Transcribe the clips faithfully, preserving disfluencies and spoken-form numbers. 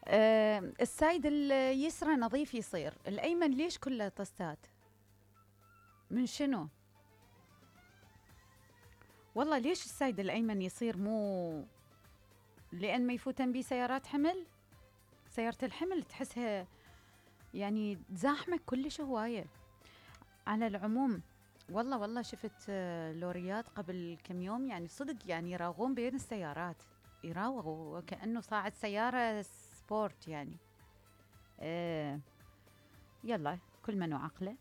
آه السايد اليسرى نظيف يصير، الأيمن ليش كله طستات؟ من شنو؟ والله ليش السايد الأيمن يصير مو لأن ما يفوتن بيه سيارات حمل؟ سيارة الحمل تحسها يعني زاحمة كلش هواية. على العموم والله والله شفت آه، لوريات قبل كم يوم، يعني صدق يعني يراوغون بين السيارات، يراوغوا وكأنه صاعد سيارة سبورت يعني. آه يلا كل من وعقله.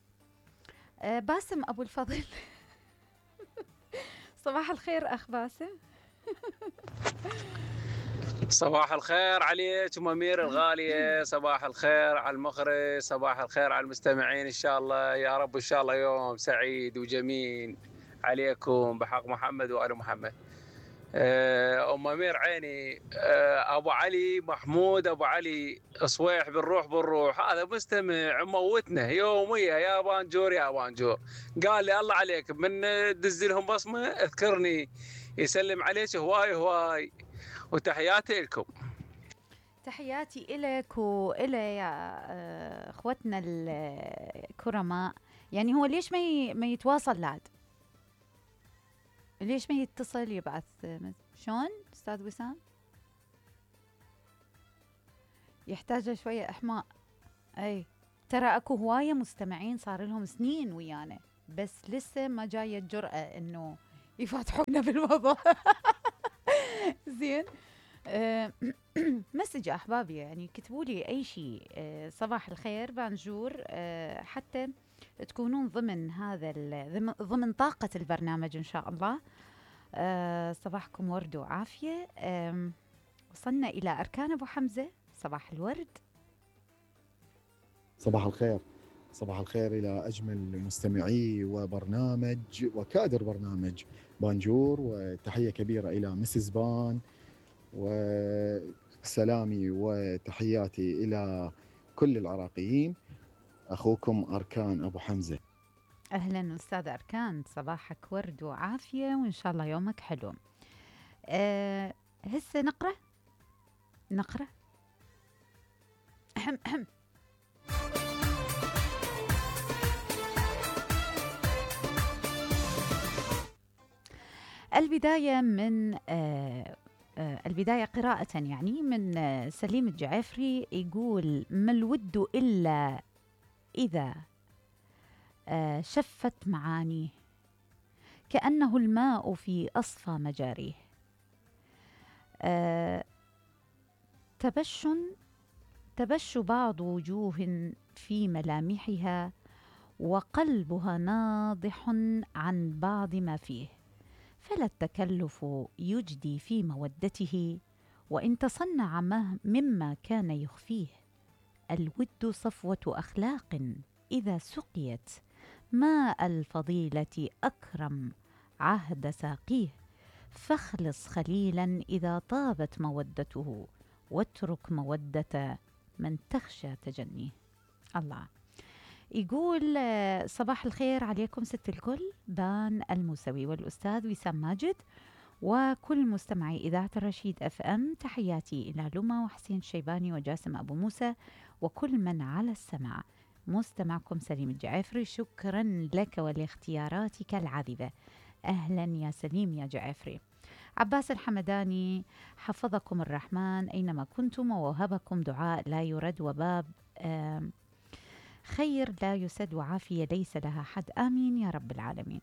آه باسم أبو الفضل صباح الخير أخ باسم. صباح الخير عليك ام امير الغاليه، صباح الخير على المخرج، صباح الخير على المستمعين. ان شاء الله يا رب ان شاء الله يوم سعيد وجميل عليكم بحق محمد وال محمد. آه، ام امير عيني، آه، ابو علي محمود ابو علي صويح بنروح بنروح، هذا مستمع موتنا يوميا يا بانجور يا بانجور. قال لي الله عليك من دز لهم بصمه اذكرني، يسلم عليك هواي هواي، وتحياتي لكم. تحياتي إلك وإلى يا آه، اخوتنا الكرماء. يعني هو ليش ما ي... ما يتواصل لاد؟ ليش ما يتصل يبعث آه، شلون استاذ وسام؟ يحتاج شويه احماء. اي ترى اكو هوايه مستمعين صار لهم سنين ويانا، بس لسه ما جايه الجرأة انه يفتحونا بالموضوع. زين. أه مسج احبابي، يعني كتبوا لي اي شيء. أه صباح الخير بانجور، أه حتى تكونون ضمن هذا ضمن, ضمن طاقة البرنامج ان شاء الله. أه صباحكم ورد وعافية. أه وصلنا الى اركان ابو حمزة. صباح الورد. صباح الخير، صباح الخير إلى أجمل مستمعي وبرنامج وكادر برنامج بانجور، وتحية كبيرة إلى مسز بان، وسلامي وتحياتي إلى كل العراقيين. أخوكم أركان أبو حمزة. اهلا استاذ اركان، صباحك ورد وعافية وان شاء الله يومك حلو. أه هسه نقرأ نقرأ أهم أهم. البداية من آه آه البداية قراءة يعني من آه سليم الجعفري، يقول: ما الود إلا إذا آه شفت معانيه، كأنه الماء في أصفى مجاريه. آه تبش تبش بعض وجوه في ملامحها، وقلبها ناضح عن بعض ما فيه، فلا التكلف يجدي في مودته، وإن تصنع مما كان يخفيه. الود صفوة أخلاق إذا سقيت، ماء الفضيلة أكرم عهد ساقيه. فاخلص خليلا إذا طابت مودته، واترك مودة من تخشى تجنيه. الله. يقول: صباح الخير عليكم ست الكل، بان الموسوي والأستاذ وسام ماجد وكل مستمعي إذاعة الرشيد أف أم. تحياتي إلى لما وحسين الشيباني وجاسم أبو موسى وكل من على السماع. مستمعكم سليم الجعفري، شكرا لك ولاختياراتك العذبة. أهلا يا سليم يا جعفري. عباس الحمداني: حفظكم الرحمن أينما كنتم، ووهبكم دعاء لا يرد، وباب خير لا يسد، وعافية ليس لها حد، آمين يا رب العالمين.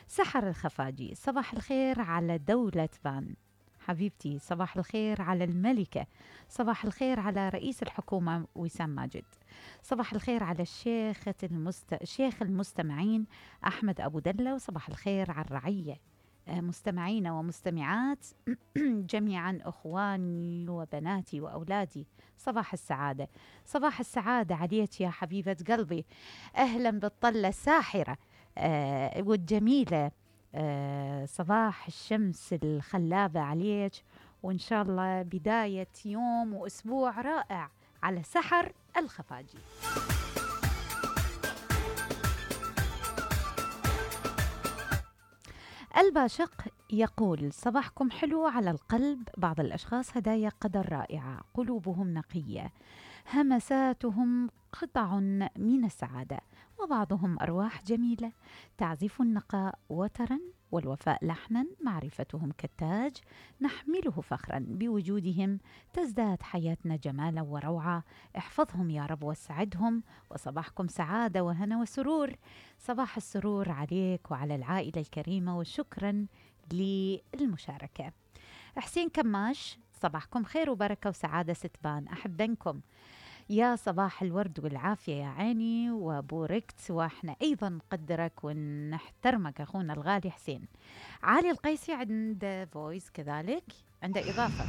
سحر الخفاجي: صباح الخير على دولة بان حبيبتي، صباح الخير على الملكة، صباح الخير على رئيس الحكومة وسام ماجد، صباح الخير على الشيخ المست... شيخ المستمعين أحمد أبو دلة، وصباح الخير على الرعية مستمعين ومستمعات جميعا، أخواني وبناتي وأولادي. صباح السعادة، صباح السعادة عليك يا حبيبة قلبي. أهلا بالطلة الساحرة آه والجميلة، آه صباح الشمس الخلابة عليك، وإن شاء الله بداية يوم وأسبوع رائع على سحر الخفاجي. الباشق يقول صباحكم حلو على القلب. بعض الأشخاص هدايا قدر رائعة، قلوبهم نقية، همساتهم قطع من السعادة، وبعضهم أرواح جميلة تعزف النقاء وترا والوفاء لحنا، معرفتهم كالتاج نحمله فخرا، بوجودهم تزداد حياتنا جمالا وروعة. احفظهم يا رب واسعدهم، وصباحكم سعادة وهنا وسرور. صباح السرور عليك وعلى العائلة الكريمة، وشكرا للمشاركة. حسين كماش، صباحكم خير وبركة وسعادة ستبان، أحبنكم يا صباح الورد والعافية يا عيني وبوركت، واحنا أيضا نقدرك ونحترمك أخونا الغالي حسين. علي القيسي عنده فويس كذلك، عنده إضافة.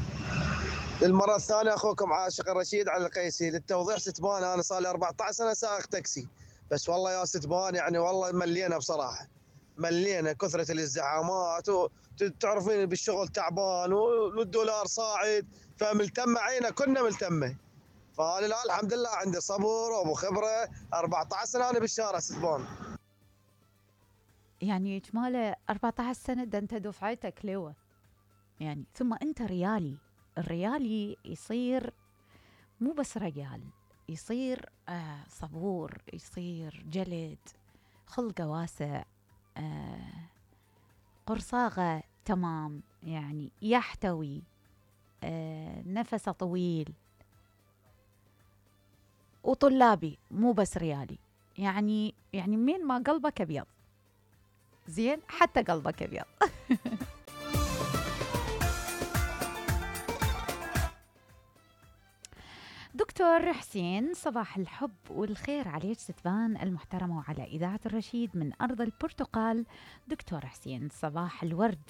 للمرة الثانية أخوكم عاشق الرشيد علي القيسي. للتوضيح ستبان أنا صار لي أربعة عشر سنة سائق تاكسي، بس والله يا ستبان يعني والله ملينا بصراحة، ملينا كثرة الازدحامات، وتعرفين بالشغل تعبان والدولار صاعد، فملتمة عينا كنا ملتمة. فأنا الآن الحمد لله عندي صبر وأبو خبرة، أربعة عشر سنة أنا بالشارع ستبان. يعني إجماله أربعة عشر سنة، ده أنت دفعتك لوا يعني. ثم أنت ريالي، الريالي يصير مو بس رجال، يصير آه صبور، يصير جلد، خلقه واسع، آه قرصاغة تمام، يعني يحتوي، آه نفسه طويل، وطلابي مو بس ريالي. يعني يعني من ما قلبك أبيض زين، حتى قلبك أبيض. دكتور حسين، صباح الحب والخير عليك ستبان المحترمة وعلى إذاعة الرشيد من أرض البرتقال. دكتور حسين، صباح الورد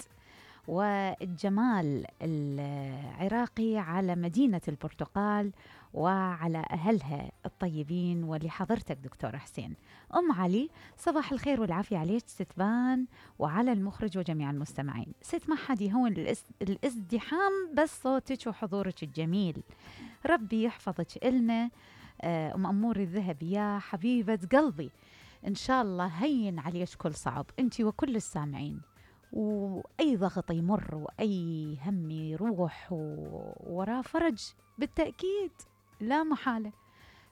والجمال العراقي على مدينة البرتقال وعلى أهلها الطيبين ولحضرتك دكتور حسين. أم علي، صباح الخير والعافية عليك ستبان وعلى المخرج وجميع المستمعين. ست ما حد يهون الازدحام، بس صوتك وحضورك الجميل، ربي يحفظك إلنا. أم أمور الذهب يا حبيبة قلبي، إن شاء الله هين عليك كل صعب أنت وكل السامعين، وأي ضغط يمر وأي هم يروح وراه فرج بالتأكيد لا محالة.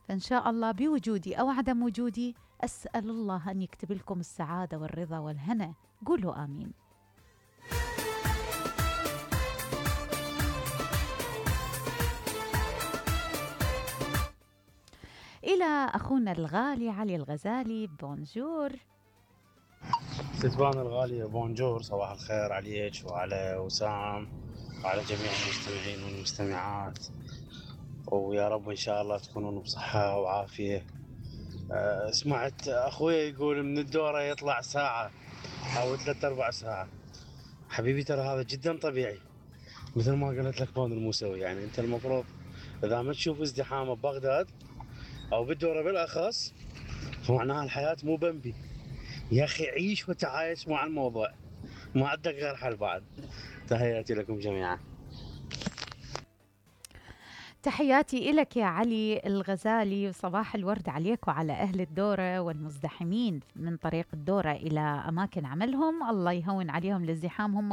فإن شاء الله بوجودي أو عدم وجودي أسأل الله أن يكتب لكم السعادة والرضا والهنا، قولوا آمين. إلى أخونا الغالي علي الغزالي، بونجور. ستبان الغالية بونجور، صباح الخير عليك وعلى وسام وعلى جميع المستمعين والمستمعات، ويا رب إن شاء الله تكونون بصحة وعافية. أه سمعت أخوي يقول من الدورة يطلع ساعة أو ثلاثة أربع ساعة. حبيبي ترى هذا جدا طبيعي، مثل ما قلت لك بون الموسوي، يعني أنت المفروض إذا ما تشوف ازدحام ببغداد أو بالدورة بالأخص فمعناها الحياة مو بمبي. يا أخي عيش وتعايش مع الموضوع، ما عندك غير حل بعد. تحياتي لكم جميعا. تحياتي إلك يا علي الغزالي، وصباح الورد عليك وعلى أهل الدورة والمزدحمين من طريق الدورة إلى أماكن عملهم. الله يهون عليهم الازدحام هم